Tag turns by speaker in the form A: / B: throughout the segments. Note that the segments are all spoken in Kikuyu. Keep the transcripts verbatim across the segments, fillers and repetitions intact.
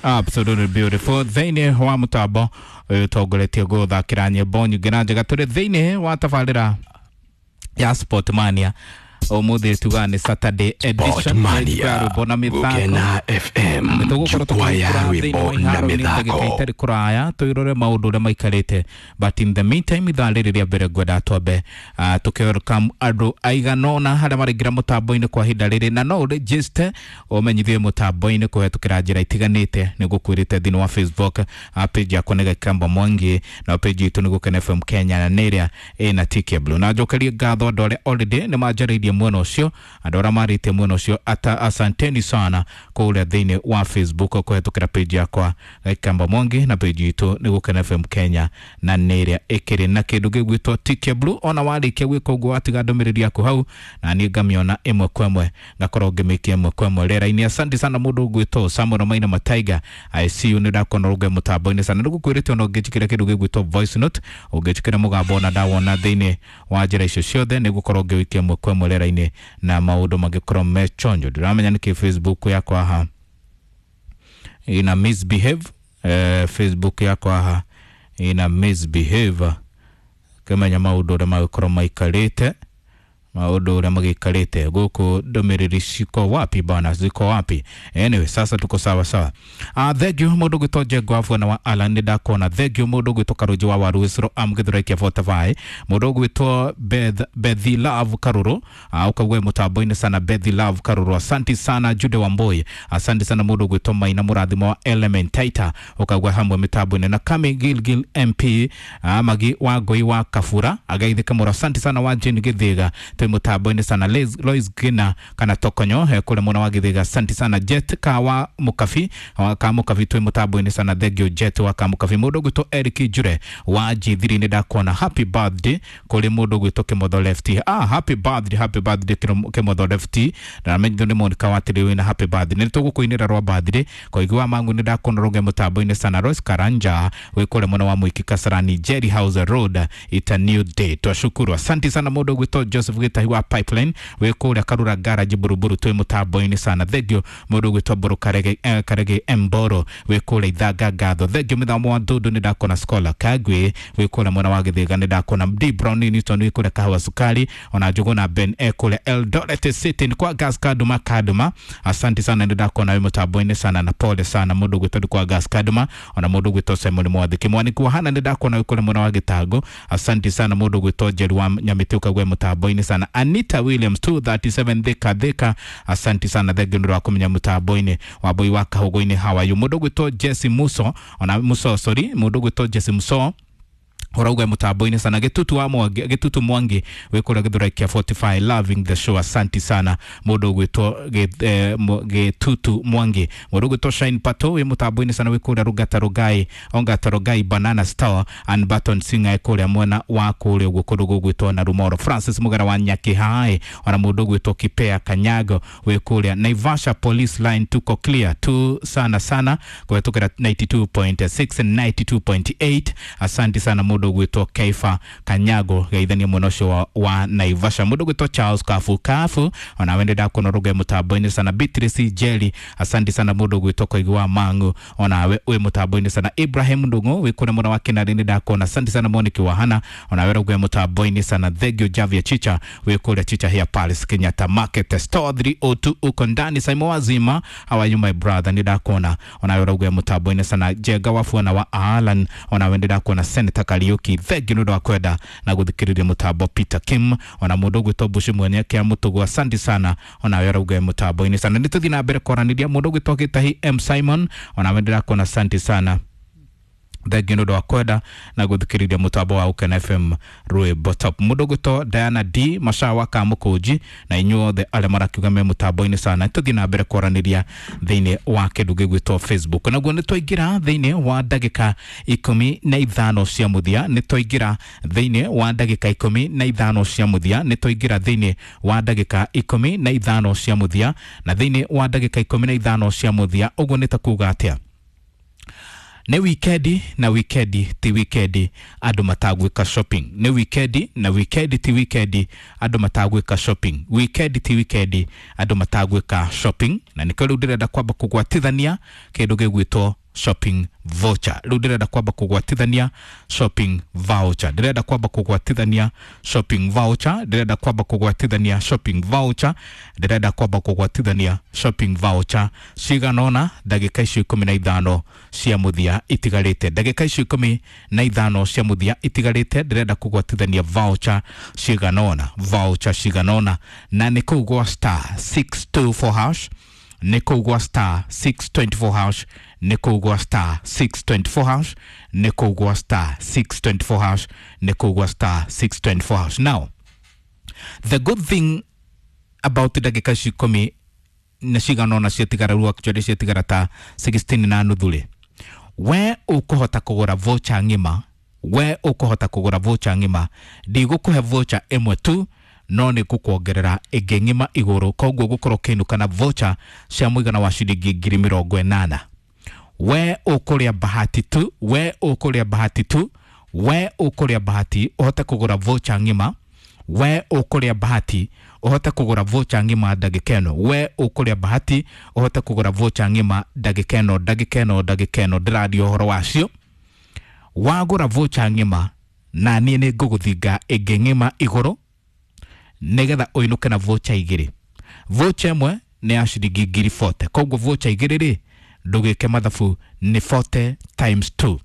A: Absolutely beautiful. Thĩinĩ wa mũtambo ũyũ ũtongoretie gũthakĩra nyĩmbo nyingĩ na njega, tũrĩ thĩinĩ wa tabarĩra ya Sportmania. Ũmũthĩ tugaga nĩ Saturday edition
B: Sportmania,
A: ya rwĩmbo na mĩthako.
B: Gukena F M,
A: tũgũkorwo
B: jukwaa ya
A: tũkĩingĩra thĩinĩ wa
B: rwĩmbo na
A: iharo nĩ ndagĩka
B: mĩthako.
A: itarĩ kũraya, twĩrore maũndũ ũrĩa maikarĩte. But in the meantime, ithaa rĩrĩ rĩa mbere ngwenda twambe uh, tũkĩwelcome andũ aigana ũna harĩa maraingĩra mũtambo-inĩ kwa ihinda rĩrĩ, na no ũregister ũmenyithie mũtambo-inĩ kũhetũkĩra njĩra itiganĩte. Nĩ gũkwĩrĩte thĩinĩ wa Facebook uh, page yakwa nĩ Gakamba Mwangi, na page itũ nĩ Gũkena F M Kenya, na nĩ ĩrĩa ĩna T K Blue. Na njokerie ngatho andũ arĩa already nĩ manjarĩirie mwena ũcio, andũ arĩa marĩtie mwena ũcio ata, asanteni sana kũrĩa thĩinĩ wa Facebook kũhetũkĩra page yakwa Gakamba Mwangi, na page itũ nĩ Gũkena F M Kenya, na nĩ ĩrĩa ĩkĩrĩ na kĩndũ gĩgwĩtwo T K Blue. Ona warĩkia gwĩka ũguo, watiga ndũmĩrĩri yaku hau, na niĩ ngamĩona ĩmwe kwa ĩmwe, ngakorwo ngĩmĩkia ĩmwe kwa ĩmwe rĩera-inĩ. Asante sana mũndũ ũgwĩtwo Samuel Maina Mataiga, I see you, nĩ ndakona rũge mũtambo-inĩ sana. Nĩ gũkwĩrĩte ona ũngĩnjĩkĩra kĩndũ gĩgwĩtwo voice note, ũngĩnjĩkĩra mũgambo, ona ndawona thĩinĩ wa njĩra icio ciothe, nĩ gũkorwo ngĩwĩkia ĩmwe kwa ĩmwe rĩera-inĩ na maũndũ mangĩkorwo me chonjo. Ndiramenya nĩkĩ Facebook yakwa haha ina misbehave. eh, Facebook yakwa haha ina misbehave, kĩmenya maũndũ ũrĩa magĩkorwo maikarĩte, maũndũ ũrĩa magĩikarĩte gũkũ. Ndũmĩrĩri ciko wapi bana, ziko wapi? Anyway, sasa tuko sawa sawa. uh, thank you mũndũ gwĩtwo Njengo wa Bwana wa Alan, nĩ ndakona. Thank you mũndũ gwĩtwo Karũnji wa Waru Wĩcũrũ amgĩthũraikia Fortify, mũndũ gwĩtwo Beth Bethi Love Karũrũ, uh, ũkaugua mũtambo-inĩ sana. Bethi Love Karũrũ, asante sana. Jude Wamboi, asante sana. Mũndũ gwĩtwo Maina Mũrathimo wa Element Taita, ũkaugua hamwe mĩtambo-inĩ na Kami Gilgil M P, uh, Magi wa Ngoi wa Kabura agaithĩka mũno, asante sana. Wa Jane Gĩthĩga, twĩ mũtambo-inĩ sana. Liz, Lois Gina kana Tokonyo eh, kũrĩa mwena wa Gĩthĩga, asante sana. Jet ka wa Mũkabi wa ka Mũkabi, twĩ mũtambo-inĩ sana. Thank you, Jet wa ka Mũkabi. Mũndũ ũgwĩtwo Eric Njure wa G three, nĩ ndakuona. Happy birthday kũrĩ mũndũ ũgwĩtwo Kĩmotho Lefty. Ah, happy birthday, happy birthday, Kĩro- Kĩmotho Lefty. Na menyo nĩ Monica watĩrĩ wĩna happy birthday, nĩ tũgũkũinĩra rwa birthday. Koigi wa Mangu, nĩ ndakuona rũge mũtambo-inĩ sana. Rose Karanja wĩ kũrĩa mwena wa Mwiki Kasarani Jerry House Road, it's a new day, twashukuru, asante sana. Mũndũ ũgwĩtwo Joseph Gĩtahi wa Pipeline wĩ kũrĩa Karura Garage Buruburu, twĩ mũtambo-inĩ sana. Thank you. Mũndũ ũgwĩtwo Mbũrũ Karege, eh, Karege Mboro wĩ kũrĩa Ithanga, ngatho, thank you. Mĩthamo wa Ndundu, nĩ ndakona. Scholar Kagwe wĩ kũrĩa mwena wa Gĩthĩga, nĩ ndakona. D Brown Newton wĩ kũrĩa Kahawa Sukari, ona Njũgũna Ben e kũrĩa Eldoret City, nĩ kwa Gas Kaduma Kaduma, asante sana, nĩ ndakona wĩ mũtambo-inĩ sana, na pole sana mũndũ ũgwĩtwo kwa Gas Kaduma. Ona mũndũ ũgwĩtwo Simon Mwathiki Mwaniki wa Hana, nĩ ndakona wĩ kũrĩa mwena wa Gĩtango, asante sana. Mũndũ ũgwĩtwo Njeru wa Nyamĩtĩ, ũkaigua mũtambo-inĩ sana. Anita Williams two thirty-seven Thika Thika, asante sana, thank you nĩ wa kũmenya mũtambo-inĩ wa Mbui wa Kahũgũ-inĩ. How are you? Mũndũ ũgwĩtwo Jesse Muso, ona Muso, sorry, mũndũ ũgwĩtwo Jesse Muso ũrauga mũtambo-inĩ sana. Gĩtutu wa Mwangi, Gĩtutu Mwangi wĩ kũrĩa Gĩthũrai kĩa forty-five, loving the show, asante sana mũndũ ũgwĩtwo Gĩ- eh, Mo- Gĩtutu Mwangi. Mũndũ ũgwĩtwo Shine Pato wĩ mũtambo-inĩ sana, wĩ kũrĩa Rũngata Rũngai, Ongata Rũngai Banana Store and Baton Singer kũrĩa mwena wa kũrĩa ũguo kũndũ gũgwĩtwo na Rumoro. Francis Mũgera wa Nyakĩhaĩ, ona mũndũ ũgwĩtwo Kipea Kanyago wĩ kũrĩa Naivasha Police Line, tuko clear tu sana sana kũhetũkĩra ninety-two point six and ninety-two point eight, asante sana mũndũ ũgwĩtwo Kaifa Kanyago, geithania mwena ũcio wa, wa Naivasha. Mũndũ ũgwĩtwo Charles Kafu Kafu, ona wende ndakuona rũge mũtambo-inĩ sana. Beatrice Jelly, asante sana. Mũndũ ũgwĩtwo Koigi wa Mangu, onawe wĩ mũtambo-inĩ sana. Ibrahim Ndung'u wĩ kũrĩa mwena wa Kinarĩ, nĩ ndakuona, asante sana. Moniki wa Hana, onawe rũge mũtambo-inĩ sana. Thank you. Javia Chicha wĩ kũrĩa Chicha here Palace Kenyatta Market Store three oh two, uko ndani. Simon Wazima, how are you, my brother? Nĩ ndakuona, onawe rũge mũtambo-inĩ sana. Jenga wa Fuana wa Alan, onawe nĩ ndakuona. Senator Kariuki, thank you nĩ ũndũ wa kwenda na gũthikĩrĩria mũtambo. Peter Kim, ona mũndũ ũgwĩtwo Bushi mwene kĩa mũtũgũ, asante sana, onawe rauge mũtambo-inĩ sana. Nĩ tũthiĩ na mbere kwaranĩria. Mũndũ ũgwĩtwo Gĩtahi M Simon, onawe ndĩrakuona, asante sana, thengiũ nĩ ũndũ wa kwenda na gũthikĩrĩria mũtambo wa Ũkena F M rwĩmbo top. Mũndũ ũgwĩtwo Diana D Macawa Kamũkũnji, na inyuothe arĩa marakiuga me mũtambo-inĩ sana, tũthiĩ na mbere kwaranĩria thĩinĩ wa kĩndũ gĩgwĩtwo Facebook. Naguo nĩ twaingĩra thĩinĩ wa ndagĩka ikũmi na ithano cia mũthia, nĩ twaingĩra thĩinĩ wa ndagĩka ikũmi na ithano cia mũthia, nĩ twaingĩra thĩinĩ wa ndagĩka ikũmi na ithano cia mũthia, na thĩinĩ wa ndagĩka ikũmi na ithano cia mũthia ũguo nĩ ta kuga atĩa? Nĩ wikendi, na wikendi ti wikendi andũ matagwĩka shopping. Nĩ wikendi, na wikendi ti wikendi andũ matagwĩka shopping. Wikendi ti wikendi andũ matagwĩka shopping. Na nĩkĩo rĩu ndĩrenda kwamba kũgwatithania kĩndũ gĩgwĩtwo shopping voucher. Rĩu ndĩrenda kwamba kũgwatithania shopping voucher, ndĩrenda kwamba kũgwatithania shopping voucher, ndĩrenda kwamba kũgwatithania shopping voucher, ndĩrenda kwamba kũgwatithania shopping voucher cigana ũna ndagĩka icio ikũmi na ithano cia mũthia itigarĩte, ndagĩka icio ikũmi na ithano cia mũthia itigarĩte, ndĩrenda kũgwatithania voucher cigana ũna, voucher cigana ũna, na nĩ kũu gwa star six two four hash, nĩ kũu gwa star six twenty four hash, nĩ kũu gwa star six twenty four hash, nĩ kũu gwa star six twenty four hash, nĩ kũu gwa star six twenty four hash. Now the good thing about ndagĩka ici ikũmi na cigana ũna ciatigara rĩu, actually ciatigara ta sixteen na nuthu rĩ, we ũkũhota kũgũra voucher ng'ima, we ũkũhota kũgũra voucher ng'ima, ndigũkũhe voucher ĩmwe tu, no nĩ ngũkuongerera ĩngĩ ng'ima igũrũ, koguo gũkorwo ũkĩinũka na voucher cia mũigana wa ciringi ngiri mĩrongo ĩnana. We ũkũrĩa bahati tu, we ũkũrĩa bahati tu, we ũkũrĩa bahati ũhote kũgũra voucher ng'ima, we ũkũrĩa bahati ũhote kũgũra voucher ng'ima ndagĩka ĩno, we ũkũrĩa bahati ũhote kũgũra voucher ng'ima ndagĩka ĩno, ndagĩka ĩno, ndagĩka ĩno ndĩraria ũhoro wacio. Wagũra voucher ng'ima na niĩ nĩ ngũgũthinga ĩngĩ ng'ima igũrũ nĩgetha ũinũke na voucher igĩrĩ. Voucher ĩmwe nĩ ya ciringi ngiri forty, koguo voucher igĩrĩ rĩ, ndũgĩke mathabu, nĩ forty times two,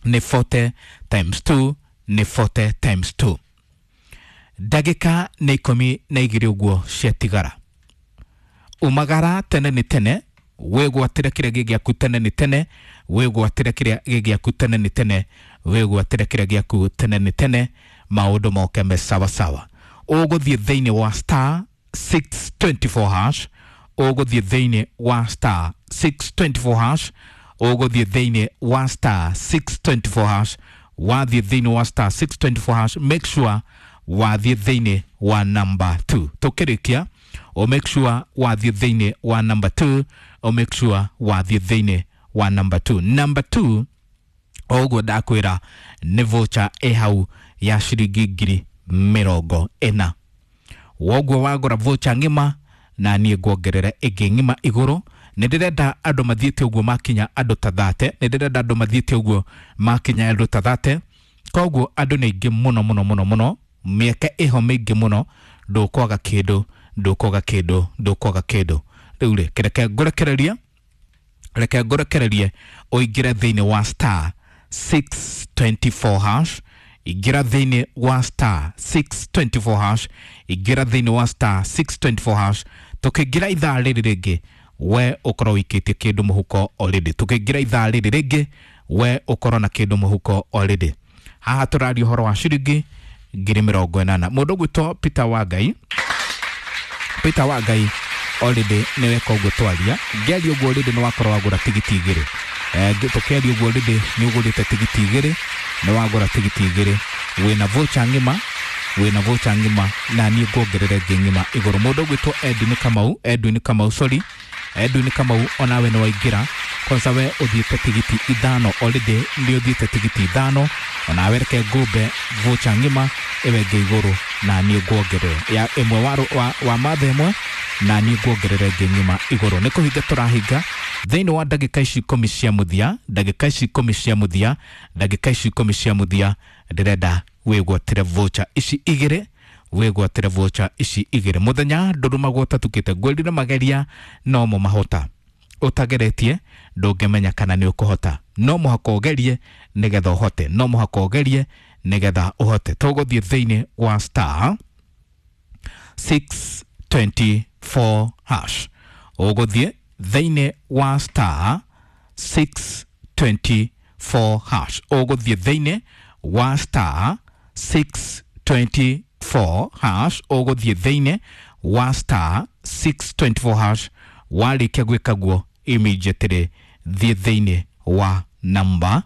A: nĩ forty times two, nĩ forty times two. Ndagĩka nĩ ikũmi na igĩrĩ ũguo ciatigara. Umagara tene nĩ tene, wĩgwatĩre kĩrĩa gĩ gĩaku tene nĩ tene, wĩgwatĩre kĩrĩa gĩ gĩaku tene nĩ tene, wĩgwatĩre kĩrĩa gĩaku tene nĩ tene, maũndũ moke me sawasawa. Ũgũthiĩ thĩinĩ wa star six twenty four hash, ũgũthiĩ thĩinĩ wa star six twenty four hash, ũgũthiĩ thĩinĩ wa star six twenty four hash, wathiĩ thĩinĩ wa star six twenty four hash, make sure wathiĩ thĩinĩ wa number two. Tũkĩrĩkia, o make sure wathiĩ thĩinĩ wa number two, o make sure wathiĩ thĩinĩ wa number two. Number two, o ũguo ndakwĩra nĩ voucher ĩ hau ya ciringi ngiri mĩrongo ĩna. Woguo wagũra voucher ng'ima na niĩ nguongerere ĩngĩ ng'ima igũrũ. Nĩ ndĩrenda andũ mathiĩte ũguo makinya andũ ta thate, nĩ ndĩrenda andũ mathiĩte ũguo makinya andũ ta thate, koguo andũ nĩ aingĩ mũno mũno mũno mũno, mĩeke ĩho mĩingĩ mũno, ndũkwaga kĩndũ, ndũkwaga kĩndũ, ndũkwaga kĩndũ. Rĩu rĩ, reke ngũrekererie, reke ngũrekererie ũingĩre thĩinĩ wa star six twenty four hash, ingĩra thĩinĩ wa star six twenty four hash, ingĩra thĩinĩ wa star six twenty four hash. Tũkĩingĩra ithaa rĩrĩ rĩngĩ, we ũkorwo ũikĩtie kĩndũ mũhuko already. Tũkĩingĩra ithaa rĩrĩ rĩngĩ, we ũkorwo na kĩndũ mũhuko already. Haha tũraria ũhoro wa ciringi ngiri mĩrongo ĩnana. Mũndũ ũgwĩtwo Peter Wangai, Peter Wangai already nĩwe ũguo twaria, ngĩaria ũguo already nĩ wakorwo wagũra tigiti igĩrĩ. Eh, tũkĩaria ũguo already nĩ ũgũrĩte tigiti igĩrĩ, nĩ wagũra tigiti igĩrĩ, wĩna voucher ng'ima, wĩna voucher ng'ima na niĩ nguongerere ĩngĩ ng'ima igũrũ. Mũndũ ũgwĩtwo Edwin Kamau, Edwin Kamau, sorry, Edwin Kamau onawe nĩ waingĩra. Kwanza we ũthiĩte tigiti ithano already, nĩ ũthiĩte tigiti ithano, onawe reke ngũmbe voucher ng'ima ĩwe ĩngĩ igũrũ na niĩ nguongerere ya ĩmwe wa, wa, wa matha ĩmwe na niĩ nguongerere ĩngĩ ng'ima igũrũ. Nĩ kũhinga tũrahinga thĩinĩ wa ndagĩka ici ikũmi cia mũthia, ndagĩka ici ikũmi cia mũthia, ndagĩka ici ikũmi cia mũthia, ndĩrenda wĩgwatĩre voucher ici igĩrĩ, wĩgwatĩre voucher ici igĩrĩ. Mũthenya ndũrũmagwo ũtatukĩte, ngwĩrire mageria no mo mahota, ũtageretie ndũngĩmenya kana nĩ ũkũhota, no mũhaka ũgerie nĩgetha ũhote, no mũhaka ũgerie nĩgetha ũhote. Tũgũthiĩ thĩinĩ wa star six twenty four hash, ũgũthiĩ thĩinĩ wa star six twenty four hash, ũgũthiĩ thĩinĩ wa star six twenty four hash, ũgũthiĩ thĩinĩ wa star six twenty four hash. Warĩkia gwĩka guo immediately thiĩ thĩinĩ wa number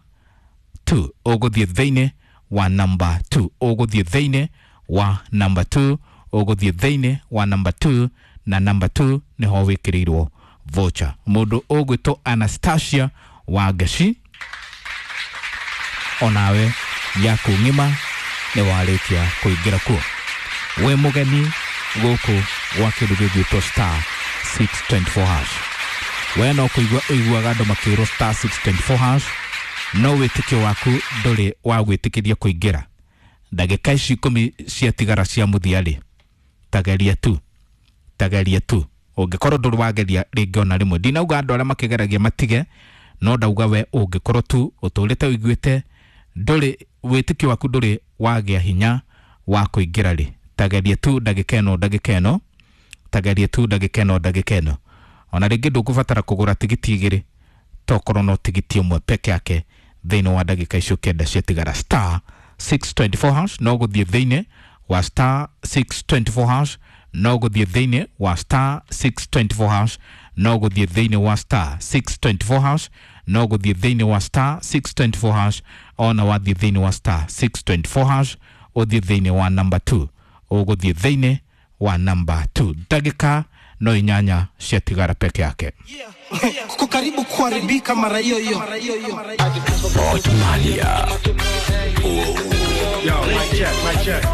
A: two, ũgũthiĩ thĩinĩ wa number two, ũgũthiĩ thĩinĩ wa number two, ũgũthiĩ thĩinĩ wa number two, na number two nĩho wĩkĩrĩirwo voucher. Mũndũ ũgwĩtwo Anastasia Wangeci, onawe yaku ng'ima nĩ warĩkia kũingĩra kuo. Wĩ mũgeni gũkũ gwa kĩndũ gĩgwĩtwo star six twenty-four hash. We no kũigua ũiguaga andũ makĩrwo star six twenty-four hash, no wĩtĩkio waku ndũrĩ wa gwĩtĩkĩria kũingĩra. Ndagĩka ici ikũmi ciatigara cia mũthia rĩ, tageria tu, tageria tu. Ũngĩkorwo ndũrĩ wageria rĩngĩ ona rĩmwe, ndinauga andũ arĩa makĩgeragia matige, no ndauga we ũngĩkorwo tu ũtũrĩte ũiguĩte ndũrĩ wĩtĩkio waku ndũrĩ wagĩa hinya wa kũingĩra rĩ, tageria tu ndagĩka ĩno, ndagĩka ĩno, tageria tu ndagĩka ĩno, ndagĩka ĩno. Ona rĩngĩ ndũkũbatara kũgũra tigiti igĩrĩ, tokorwo no tigiti ũmwe peke yake thĩinĩ wa ndagĩka icio kenda ciatigara. Star six twenty-four hash, no gũthiĩ thĩinĩ wa star six twenty-four hash, no gũthiĩ thĩinĩ wa star six twenty-four hash, no gũthiĩ thĩinĩ wa star six twenty-four hash, no gũthiĩ thĩinĩ wa star six twenty-four hash. Ona wathiĩ thĩinĩ wa star six twenty-four hash, ũthiĩ thĩinĩ wa number two, ũgũthiĩ thĩinĩ wa number two. Ndagĩka no inyanya ciatigara peke yake.
B: Kuko karibu kuharibika mara hiyo hiyo.
C: Otmalia.
D: Yo, mic check, mic check.